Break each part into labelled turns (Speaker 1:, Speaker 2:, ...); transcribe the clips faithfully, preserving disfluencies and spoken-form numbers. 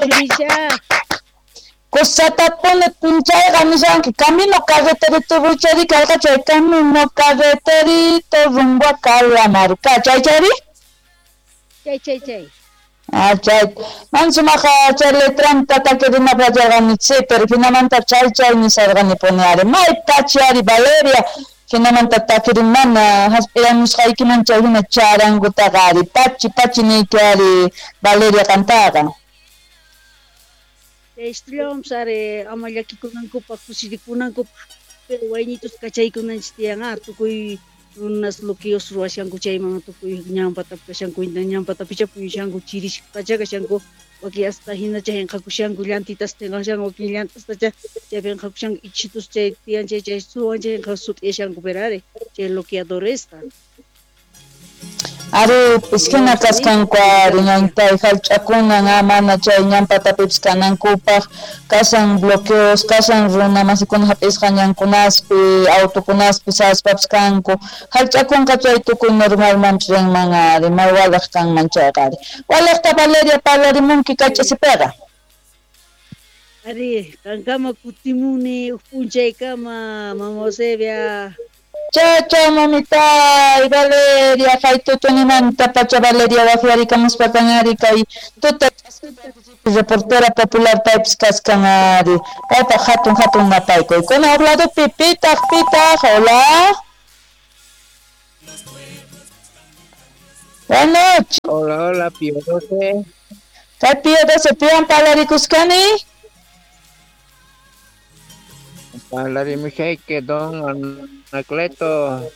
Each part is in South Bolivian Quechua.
Speaker 1: Tusuricha.
Speaker 2: Kusatapuni punchayqa nishanki camino carreterito ruchari karqa chay camino carreterito rumbo a Calamarca chay chayri?
Speaker 1: Chay chay chay.
Speaker 2: Ah, chay. Man sumaqa chay letranta takirinapaq yacharqani sí, pero jinamanta chay chay nisarqani ari. May pachi ari Valeria jinamanta takirimana hasp'iramusqaykiman chay hina charangutaqa ari pachi pachi niyki ari Valeria qantaqa.
Speaker 1: Estrellamos ari ama llakikunankupaq kusirikunankupaq pero waynitus kachaykunanchis tiyan tukuy runas bloqueos ruwashanku chayman tukuy ñanpata kashanku ñanpata pichapuyashanku chirisqacha kashanku wakin hasta hinacha hinqakushanku llantitas tinqashanku wakin llantastacha chaypi hinqakushanku ichitus chay tiyan chay chay suwan chay sut'iyashanku pero ari chay bloqueadoresta.
Speaker 2: Ari hina kasqanku ari ñantay hallch'akunan mana chay ñanpatapipis kanankupaq kasan bloqueos kasan runa masikuna hap'isqa ñankunaspi autokunaspi saspapis kanku hallch'akunqa chay tukuy normalmanpis rinman ari may walaq kanman chayqa ari walaqta Valeria parlarimunki kay ch'isipiqa.
Speaker 1: Ari qankama kutimuni huk p'unchaykama mama Eusebia.
Speaker 2: Chao, chao, mamitay, Valeria, haytutunimanta pacha Valeria waqyarikamuspa kanari kay tuta reportera popular paypis kaskan ari paypaq hatun hatun napaykuy kuna huk ladopi pitaq pitaq hola. Buenas noches.
Speaker 3: Hola, hola, Pío doce.
Speaker 2: Kay Pío doce, piwan parlarikusqani?
Speaker 3: Parlarimushayki don Anacleto.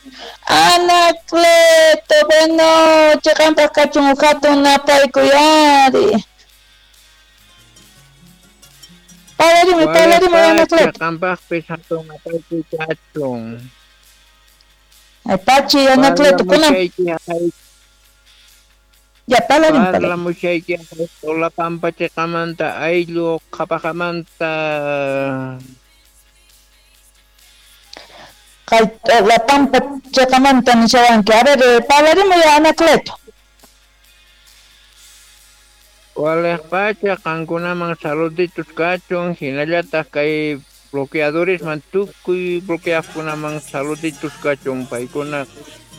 Speaker 2: Anacleto, bueno, qanpaq kachun huk hatun napaykuy ari. Parlarimuy, parlarimuy Anacleto.
Speaker 3: Qanpaqpis hatun napaykuy kachun.
Speaker 2: Ay, pachi Anacleto, kunan. Ya, parlarimuy,
Speaker 3: parlamushayki Hola Pampa chiqamanta ayllu qhapaqamanta.
Speaker 2: La Pampa chiqamanta nishawanki. A ver, parlarimuy Anacleto.
Speaker 3: Walej pacha qankunaman saluditos kachun hinallataq kay bloqueadoresman tukuy bloqueaqkunaman saluditos kachun paykuna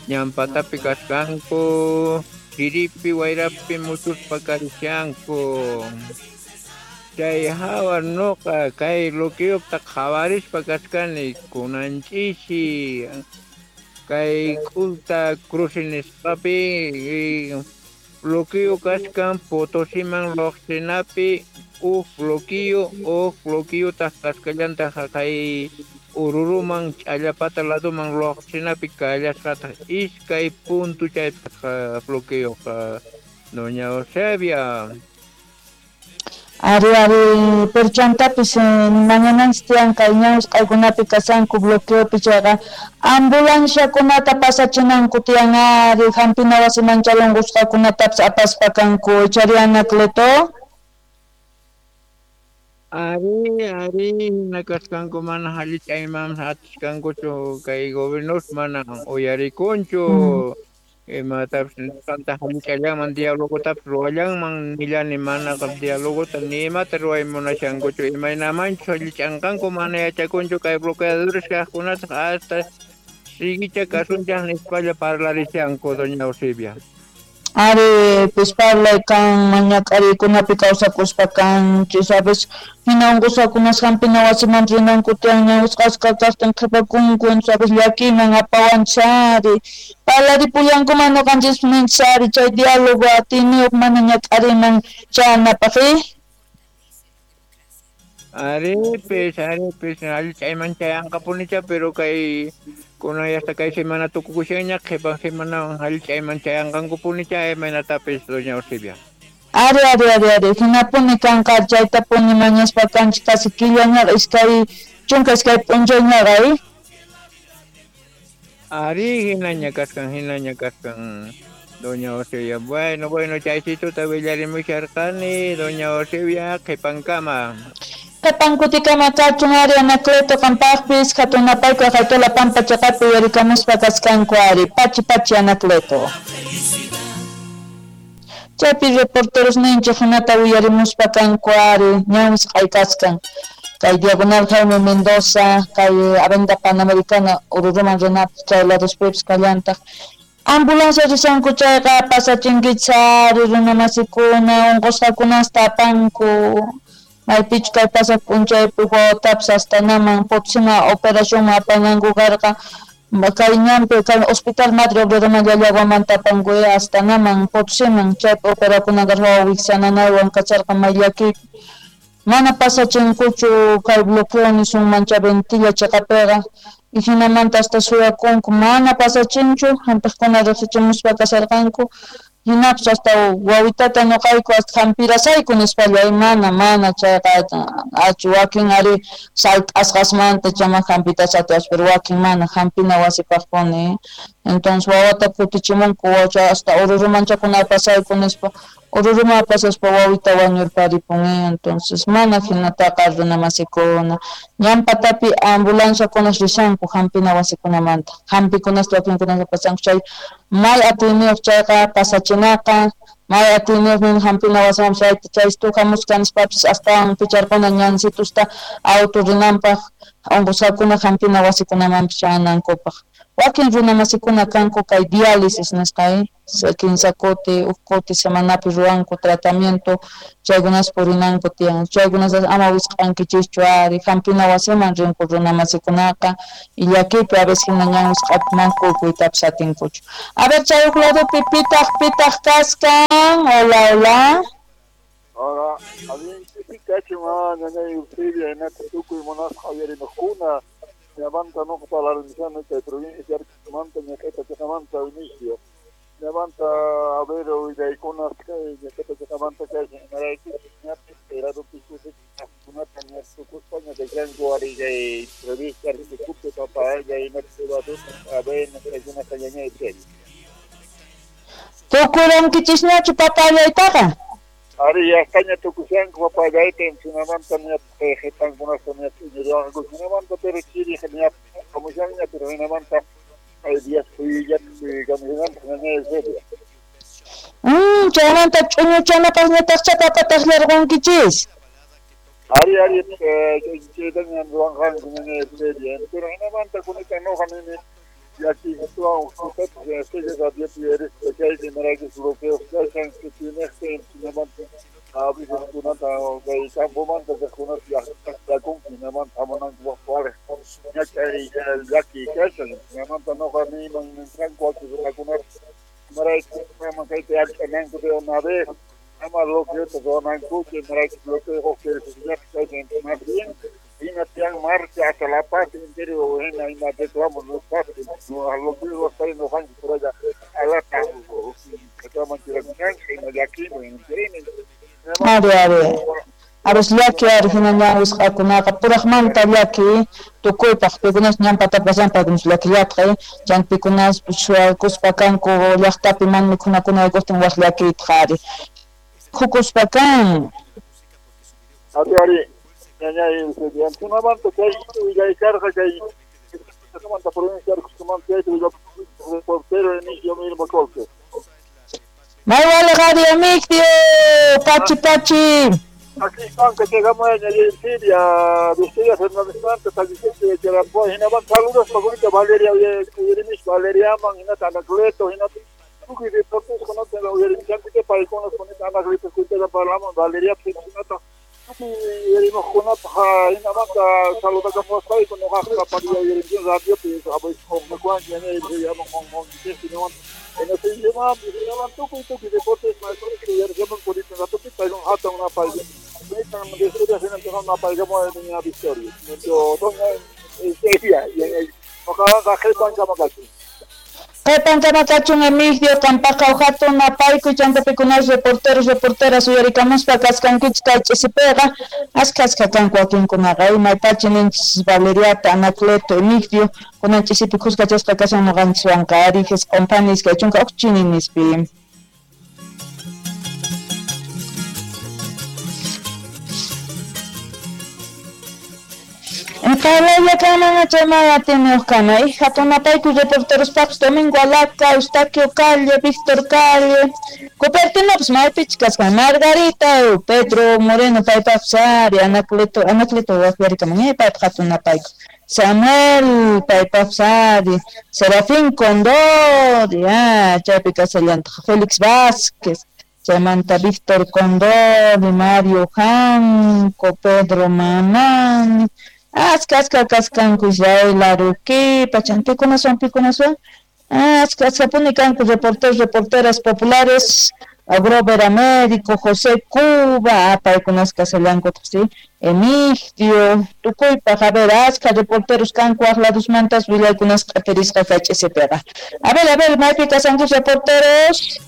Speaker 3: ñanpatapi kasqanku chiripi wayrapi muchuspa karishanku. Chay hawa nuqa kay bloqueopta qhawarispa kachkani kunanch'isi kay k'ulta cruce nisqapi bloqueo kachkan Potosiman lluqsinapi huk bloqueo huk bloqueotaq kasqallantaq kay Oruruman ch'allapata ladoman lluqsinapi kallasqataq iskay punto chaypaq bloqueoqa doña Eusebia.
Speaker 2: Ari, ari, pero chantapis mañananchis tiyan kay ñawsqaykunapi kashanku bloqueopi chayqa ambulanciakunata pasachinanku tiyan ari hampina wasiman chalunqusqakunatapis apaspa kanku chari Anacleto.
Speaker 3: Ari, ari, hina kasqanku mana hallich'ayman atisqankuchu kay gobiernos mana uyarikunchu. Imatapis nisqanta hallich'allanman dialogotapis ruwallanman nillani manaqa dialogota ni imata ruway munashankuchu imaynamanchus hallich'anqanku mana yachakunchu kay bloqueadores kaqkunataq hasta siguicha kasunchaq nispalla parlarishanku doña Eusebia.
Speaker 2: Ari, pues parlay kan mañak'ariykunapi kawsakuspa kanchis a veces hina unqusqakunas hampina wasiman rinanku tiyan ñawsqasqa kaqtin qhipakunku sabes llakiman apawanchis ari parlaripullankuman ñuqanchis ninchis ari chay diálogo atiyniyuq mana ñak'ariman chayanapaq.
Speaker 3: Aripis, aripis, allich'ayman chayanqapunicha pero kay kunan hasta kay semana tukukushanña qhipan semanawan allich'ayman chayanqankupunicha imaynatapis doña Eusebia.
Speaker 2: Ari, ari, ari, ari, hinapuni kanqa chaytapuni mañaspa kanchis casi killañaqa iskay chunka iskay p'unchayñaqa eh.
Speaker 3: Ari, hinaña kasqan, hinaña kasqan doña Eusebia. Bueno, bueno, chaysituta willarimusharqani doña Eusebia qhipankama.
Speaker 2: Qhipankutikama kachun ari Anacleto qampaqpis hatun napaykuy Qaytola Pampa chiqapi uyarikamuspa kasqanku ari pachi pachi Anacleto. Chaypi reporteros ninchej hinata uyarimuspa kanku ari ñan wisq'ay kaskan. Kay Diagonal Jaime Mendoza, kay Avenida Panamericana, Ururuman rinapaq chay ladospipis kallantaq. Ambulancia risanku chayqa pasachinkichis ari runamasikuna unqusqakunasta apanku. Maypichu kay pasaq p'unchaypi wawatapis hasta naman Potosima operacionman apananku karqa. Kay ñanpi kay Hospital Madre Obreroman Llallaguamanta apanku hasta naman Potosiman chaypi operakunan karqa wawa wiksa nanaywan kacharqa may llakiypi. Mana pasachinkuchu kay bloqueo nisunman chay Ventilla chiqapiqa y hinamanta hasta suyakunku mana pasachinchu hampiqkuna riqsichimuspa kasharqanku hinapis hasta wawitata nuqayku hasta hampirasayku nispalla mana mana chayqa achu wakin ari salt'asqasmanta chama hampita atiwaspa pero wakin mana hampina wasipaqpuni entonces wawata kutichimunku wacha hasta Ururumanchakuna apasayku nispa Ururuma apasaspa wawita wañurparipun entonces mana hinataqa runamasikuna ñan patapi ambulanciakuna rishanku hampina wasikunamanta hampikunasta wakinkunata pasanku chay may atiyniyuq chayqa pasachinaqa may atiyniyuq nin hampina wasiman chayta chaystu hamusqa nispapis astawan picharquna ñansitusta auto rinanpaq unqusqakuna hampina wasikunamanpis chayanankupaq. Wakin runamasikuna kanku kay diálisis nisqa kinsa kuti huk kuti semanapi ruwanku tratamiento chaykunas purinanku tiyan chaykunas ama wisq'ankichischu ari hampina wasiman rinku runamasikunaqa y llakiypi a veces hina ñan wisq'api mana kukuytapis atinkuchu. A ver chay huk ladopi pitaq pitaq kaskan. Hola, hola.
Speaker 4: Hola, allin kachun ñañay Eusebia hinata tukuy munasqa uyarimuqkuna. Ñamanta nuqa parlarimushani kay provincia Arequipamanta ñak'ayta chiqamanta inicio. Ñamanta a ver willaykunas kay ñak'ayta chiqamanta kashan imarayku ñapis kay ladopi kusikunata ña tukuspa ñak'ashanku ari kay provincia Arequipapi papaya hinata avena chaykunata ñañay Eusebia.
Speaker 2: Tukurunkichisñachu papayaytaqa?
Speaker 4: Ari yastaña tukushanku papayayta hinamanta ña qhipankunasta ña ch'iñirwanku hinamanta pero chiri ña hamushanña pero hinamanta hay días phuyullata phuyukamushananta ñañay Eusebia.
Speaker 2: Mm, chaymanta ch'uñuchanapaqñataqcha papataq llarqunkichis.
Speaker 4: Ari ari chaytaña ruwanqanku ñañay Eusebia pero hinamanta kunata nuqa nini llakiykuwan uqtutapis estrella radiopi uyarispa chayta imaraykus bloqueos kashan tukuynejta hinamanta a veces kunata kay campomanta kaqkunata llaqtakunku hinamanta hamunankupaq waliq ñak'ay llakiy kashan hinamanta nuqa niyman ninqanku wakin runakunata imarayku ama kayta llak'ananku de una vez ama bloqueota ruwanankuchu imaraykus bloqueo huk kashan más bien hina tiyan marcha hasta La Paz entero hina ima reclamo nuqapis bloqueo hasta nuqanchik por allá alata reclaman churakunanchik ima llakiyman enterini.
Speaker 2: Ari ari aros llaki ari hina ñan wisq'akunaqa puraqmanta llaki tukuypaq pikunas ñan patapi paykunas llakillatqa chay pikunas shuyakuspa kanku llaqtapi mana mikhunakuna haykuqtin waq llakiytaq ari khukuspa kan.
Speaker 4: Ari ari ñañay Eusebia hinamanta chay willaykarqa kay manta provincia Arequipamanta chayta willapuq reportero Emigdio Milmo Colque.
Speaker 2: May waliq ari Emigdio, pachi pachi.
Speaker 4: Aquí kanka chaykamuya ñañay Eusebia Victoria Fernández Tallisente Charapoa hinamanta saludos pakunita Valeria uyarimis Valeriaman hinata Anacleto hinata tukuy reporteros kunata uyarimishankuta paykunas kunata Anacleto kuytata parlaman Valeria hinata uyarimuqkunapaq hinamanta saludakamuwaspayku nuqaqqa pariya uyarimushani radiopi abaykuwanchik ñañay Eusebiaman qunqunkichis hinamanta hinaman tukuy tukuy deportes uyarishaman kunita ratopi paykuna hatun napayku nitan Victoria hinamanta napaykamuwa niña Victoria doña Eusebia nuqaqa qhipankama kachun.
Speaker 2: Qhipankama kachun Emigdio qampaqqa huk hatun napaykuy chanta pikunas reporteros reporteras uyarikamuspa kaskankichik kay ch'isipiqa askha askha kanku wakinkunaqa maypachi ninchis Valeriata Anacleto Emigdio kunan ch'isipi khuskachasqa kashan nuqanchiswanqa ari jisq'unpani iskay chunka huk chini nispi. Parlaylla kanman chay mana atiyniyuq kana. Hatun napayku reporterospaqpis Domingo Alaca, Eustaquio Calle, Víctor Calle, Cupertinopas maypichus kaskan, Margarita, Pedro Moreno paypaqpis ari, Anacleto, Anacleto waqyarikamun, eh, paypaq hatun napayku. Samuel paypaqpis ari, Serafín Condori, ah, chaypi kasallantaq, Félix Vázquez, chaymanta Víctor Condori, Mario Janco, Pedro Mamani, aska aska kaskanku Israel Aruquipa, chan pikunaswan pikunaswan, aska askapuni kanku reporteros, reporteras populares, Grover Américo, José Cuba, paykunas kasallankutaq, sí, Emigdio, tukuypaq, a ver, aska reporteros kanku waq ladosmantas willaykunas q'atirisqa kay ch'isipiqa. A ver, a ver, maypi kasanku reporteros.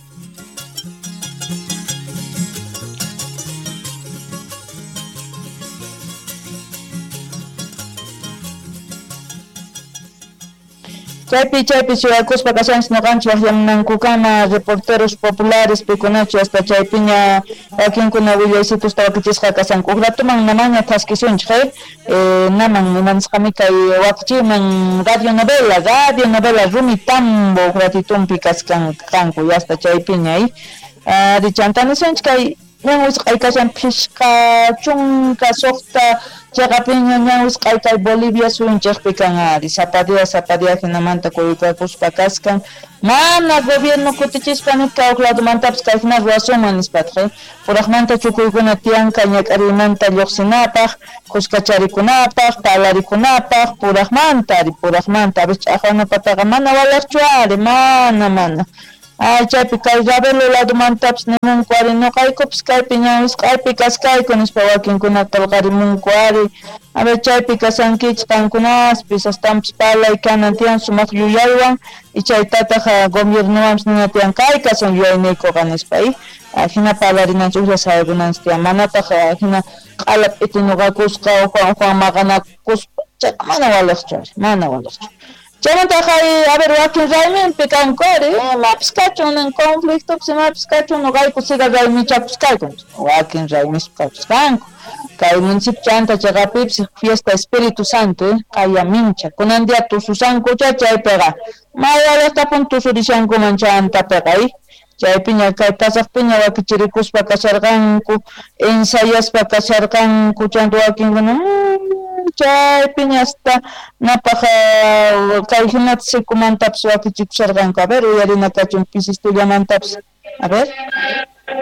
Speaker 2: Chaypi chaypi shuyakuspa kashanchis noqanchis waqyamunankukama reporteros populares pikunachu hasta chaypiña wakinkuna willaysitusta wakichisqa kashanku. Uj ratuman namaña thaskisunchik, eh? Eh, naman imanisqami kay wakichiyman radionovela, radionovela Rumi Tambo uj ratitunpi kaskan kanku hasta chaypiña, eh? Ari chanta nisunchik kay ñan wisq'ay kashan phishqa chunka suqta chaqapiña ñan wisq'ay kay Bolivia suyunchikpi kan ari, sapa día sapa día hinamanta kuyukakuspa kaskan, mana gobierno kutichispa nisqa huk ladomantapis kay hina ruwasunman nispataq, eh? Puraqmanta chukuykuna tiyanka ñak'ariymanta lluqsinapaq, kuskacharikunapaq, palarikunapaq, puraqmanta ari, puraqmanta, a veces ch'aqwanapataqa mana walaqchu ari, mana mana. Ay, chaypi kay Ravelo ladomantapis nimunku ari, noqaykupis kaypi ñan wisq'aypi kaskayku nispa wakinkuna qillqarimunku ari. A ver, chaypi kasankichik qankunaspis, astanpis palay kanan tiyan sumaq yuyaywan, y chaytataq gobiernowanpis nina tiyan kay kasan yuyayniykuqa nispa, eh? Hina palarinanchik ujlla sayarunanchik tiyan, manataq hina q'ala p'iti ñuqakusqa ujuan ujuan maqanakuspa, chayqa mana waliqchu ari, mana waliqchu. Chaymantaq a ver, wakin rayminpi kanku ari, imapis kachun nin conflictopis imapis kachun noqayku siga raymichapis kayku, wakin raymispi kachusqanku. Kay municipio chanta chaqapipis fiesta Espíritu Santo, eh, qaya mincha, kunan día tususankucha chaypiqa, maywalaqtapun tusurishankuman chantapiqa, eh. Chaypiña kay pasaqpiña wakichirikuspa kasharqanku, ensayaspa kasharqanku, chanta wakinkuna, chaypiña hasta napaq kay hinata sikumantapis wakichikusharqanku. A ver, uyarina kachun pisistullamantapis, a ver.